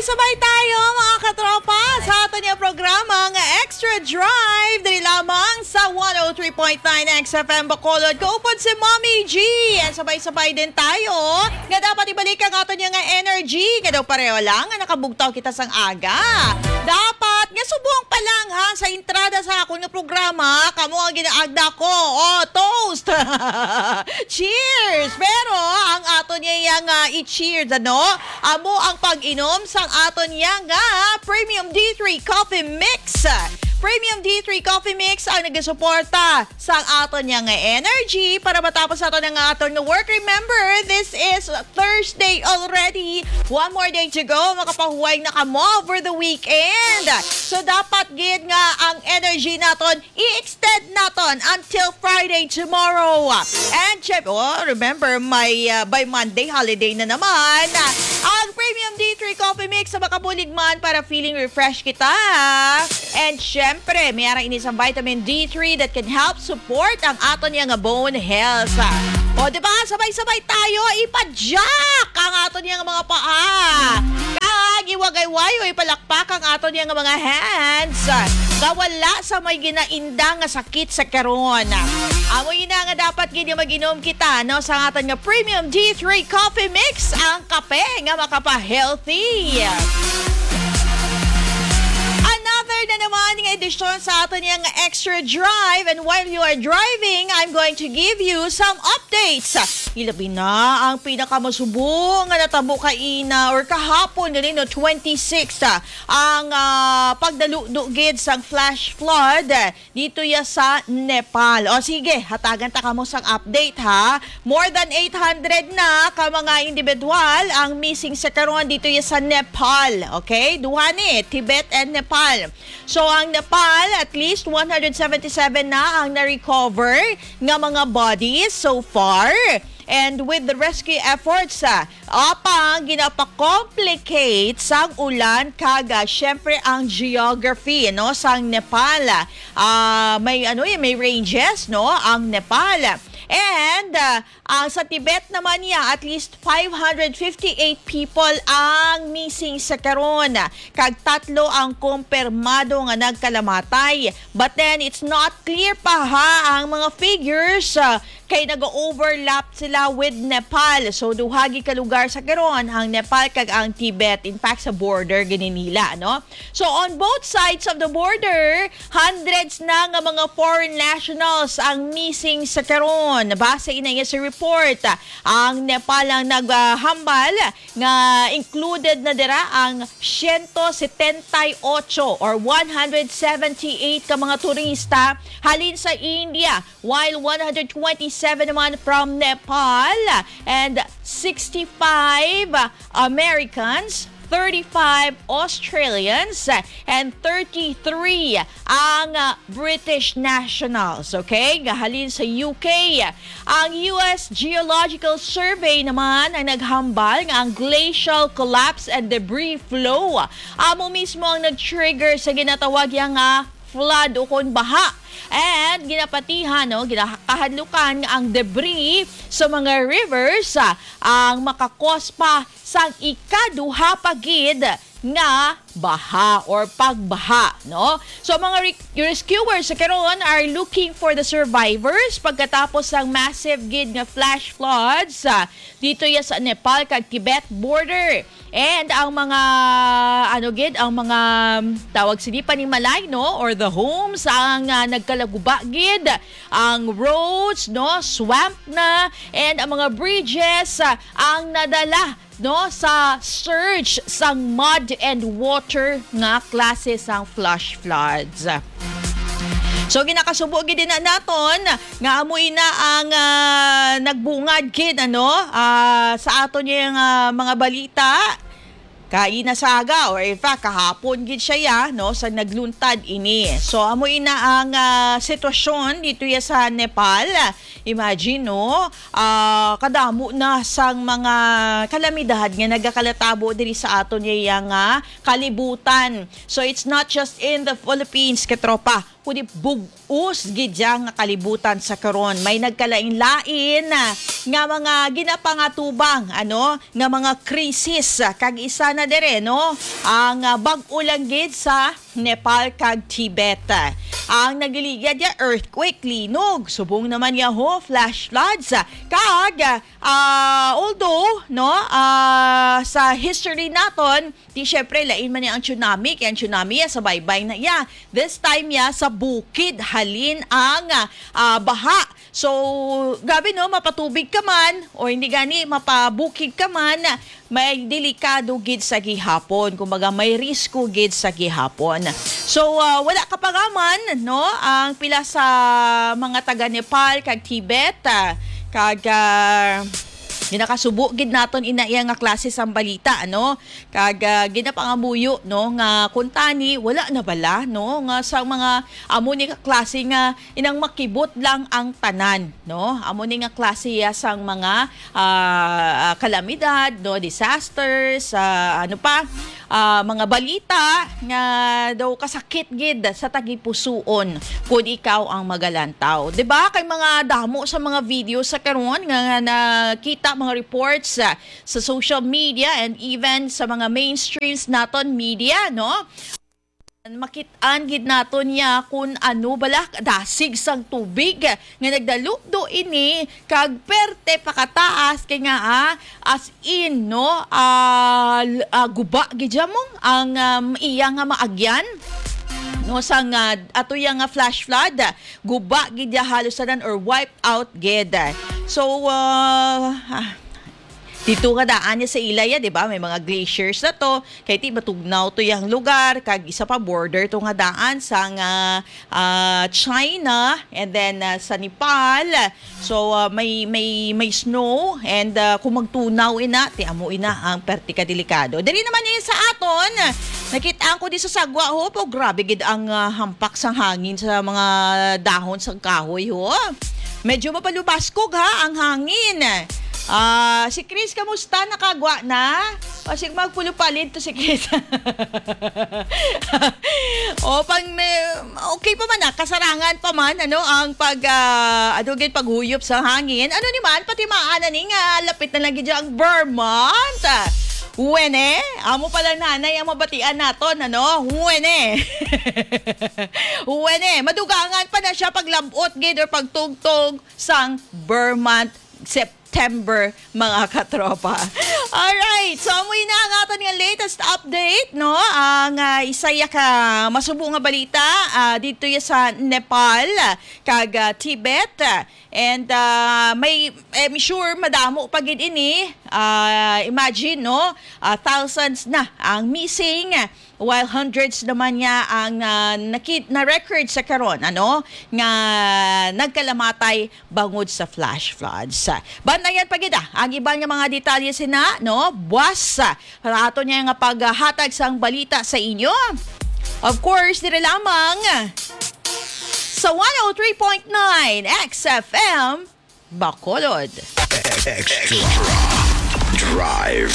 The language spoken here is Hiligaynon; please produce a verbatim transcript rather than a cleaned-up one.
Sabay tayo, mga katropa, sa aton nga programa nga Extra Drive, diri lamang sa one oh three point nine X F M Bacolod. Kaupod si Mommy G. And sabay-sabay din tayo nga dapat ibalik ang aton nga energy, nga daw pareho lang nga nakabugtaw kita sang aga. Dapat nga subong pa lang, ha, sa entrada sa akon nga programa, kamo ang ginaagda ko. Oh, toast! Cheers! Pero ang aton nga i-cheers, ano, amo ang pag-inom sang aton nga Premium D three Coffee Mix. Premium D three Coffee Mix ang nagasuporta sa aton nga energy para matapos aton ang aton nga work. Remember, this is Thursday already. One more day to go. Makapahuway na kamo for the weekend. So, dapat gid nga ang energy naton i-extend naton until Friday tomorrow. And syem-, oh, remember, may, uh, by Monday, holiday na naman. Ang Premium D three Coffee Mix sa makabulig man para feeling refresh kita. And syempre, may ara ini sa vitamin D three that can help support ang aton nga bone health. O, di ba? Sabay-sabay tayo ipa-jack ang aton nga mga paa. Kag iwagay-wayo, ipalakpak ang aton nga mga hands. Nga wala sa may ginainda nga sakit sa karon. Amo ina nga dapat gid mag-inom kita, no, sa aton nga Premium D three Coffee Mix, ang kape nga makapa-healthy. Another na naman nga edisyon sa aton nga Extra Drive. And while you are driving, I'm going to give you some updates. Ilabi na ang pinakamasubo nga natabo kaina or kahapon gani, no, twenty-six, ah, ang, ah, pagdaludo gid sang flash flood, ah, dito ya sa Nepal. O sige, hatagan ta kamo sang update, ha. More than eight hundred na ka mga individual ang missing sa karon dito ya sa Nepal. Okay? Duha ni, Tibet and Nepal. So, ang Nepal, at least one hundred seventy-seven na ang na-recover nga mga bodies so far. And with the rescue efforts, ah, apang ginapakomplikate sang ulan kag, ah, syempre ang geography, no, sang Nepal. Ah, may ano, eh, may ranges, no, ang Nepal. And, ah, ang sa Tibet naman niya, at least five hundred fifty-eight people ang missing sa karon, kag tatlo ang kumpirmado nga nagkalamatay. But then, it's not clear pa, ha, ang mga figures, ah, kay nag-overlap sila with Nepal. So, duha gid ka lugar sa karon, ang Nepal kag ang Tibet. In fact, sa border gid nila, no? So, on both sides of the border, hundreds na nga mga foreign nationals ang missing sa karon. Base ina sa report, ang Nepal ang naghambal nga included na dira ang siyento setenta y ocho or one hundred seventy-eight ka mga turista halin sa India, while one hundred twenty-seven naman from Nepal, and sixty-five Americans, thirty-five Australians, and thirty-three ang, ah, British nationals, okay, nga halin sa U K. Ang U S Geological Survey naman ang naghambal nga ang glacial collapse and debris flow amo mismo ang nag-trigger sa ginatawag ya nga flood ukon baha. And ginapatihan, no, ginakahadlukan nga ang debris sa mga rivers, ah, ang makakos pa sang ikaduha pa gid nga baha or pagbaha, no? So, mga re-, rescuers sa karon are looking for the survivors pagkatapos sang massive gid nga flash floods, ah, dito ya sa Nepal kag Tibet border. And ang mga, ano gid, ang mga, um, tawag sini, panimalay, no? Or the homes, ang, ah, nagkalaguba gid, ang roads, no? Swamp na, and ang mga bridges, ah, ang nadala, no, sa surge sang mud and water nga klase sang flash floods. So, ginakasubo gid na naton nga amo ina ang, ah, nagbungad gid, ano, ah, sa aton nga, ah, mga balita. Kaina sa aga, or in fact, kahapon gid siya, ya, no, sa nagluntad ini. So, amo ina ang, ah, sitwasyon dito ya sa Nepal. Imagine, no, ah, kadamo na sang mga kalamidad nga nagakalatabo diri sa aton ya nga kalibutan. So, it's not just in the Philippines, katropa. Kundi bug-os gid ya nga kalibutan sa karon. May nagkalain-lain nga mga ginapangatubang, ano, nga mga krisis. Kag isa na dire, no, ang, ah, bag-o lang gid sa Nepal kag Tibet. Ang nagligad ya earthquake, linog, subong naman ya ho, flash floods, kag, ah, although, no, ah, sa history naton, di syempre, lain man ni ang tsunami, kay ang tsunami ya sa baybay na ya. This time ya sa bukid halin ang, ah, baha. So, grabe, no, mapatubig ka man o hindi gani mapabukid ka man, may delikado gid sa gihapon. Kumbaga, may risko gid sa gihapon. So, ah, wala ka pa nga man, no, ang pila sa mga taga Nepal kag Tibet, ah, kag, ah, ginakasubo gid naton ina iya nga klase sang balita, ano? Kag, ah, ginapangamuyo, no, nga kuntani wala na bala, no, nga sa mga amo ni ka klase nga inang makibot lang ang tanan, no? Amo ni nga klase ya sang mga, ah, ah, kalamidad, no, disasters, ah, ano pa, ah, mga balita nga daw kasakit gid sa tagipusuon kun ikaw ang magalantaw. 'Di ba? Kay mga damo sa mga video sa karon nga, nga nakita, mga reports, ah, sa social media and even sa mga mainstreams naton media, no? Makit-an gid naton niya kun ano bala dasig sang tubig nga nagdalupdo ini kag perte pakataas kay nga, ah, as in, no, ah, l- ah, guba gid ya mo ang, um, iya nga maagyan, no, sang, ah, ato ya nga flash flood, guba gid ya halos tanan or wiped out gid. So, ah, ah, dito nga daan niya sa ilaya, di ba? May mga glaciers na to. Kay ti matugnaw to yang lugar, kag isa pa border to nga daan sa nga, ah, China and then, ah, sa Nepal. So, ah, may may may snow and, ah, kung magtunaw ina, ti amo ina ang perti ka delikado. Diri naman ni sa aton, nakita ko di sa sagwa ho po, grabe gid ang, ah, hampak sang hangin sa mga dahon sang kahoy ho. Medyo mapalubaskog ha ang hangin. Ah, si Chris, kamusta? Nakagwa na? O, sige, magpulupalid to si Chris. O, pang may, okay pa man na, kasarangan pa man, ano, ang pag, ah, adugin paghuyop sa hangin. Ano ni man, pati maana ni nga, lapit na lang gid ang Vermont. Wene, amo pa lang nanay ang mabatian naton, ano? Wene. Wene, madugangan pa na siya paglabot gid or pagtugtog sang Vermont September, mga katropa. Alright, so amoy na ang aton nga latest update, no? Ang, ah, isa ya ka masubo nga balita, ah, dito ya sa Nepal, kag, ah, Tibet. And, ah, may, I'm sure madamo pa gid ini. Ah, imagine, no? Ah, thousands na ang missing, while hundreds naman niya ang, ah, nakit-, na-record sa karon, ano, nga nagkalamatay bangod sa flash floods. Bantayan pa gid, ah, ang iban nga mga detalye sina, no? Buwas, ah, para ato niya nga paghatag sang balita sa inyo. Of course, dire lamang sa one oh three point nine X F M Bacolod. Extra Drive.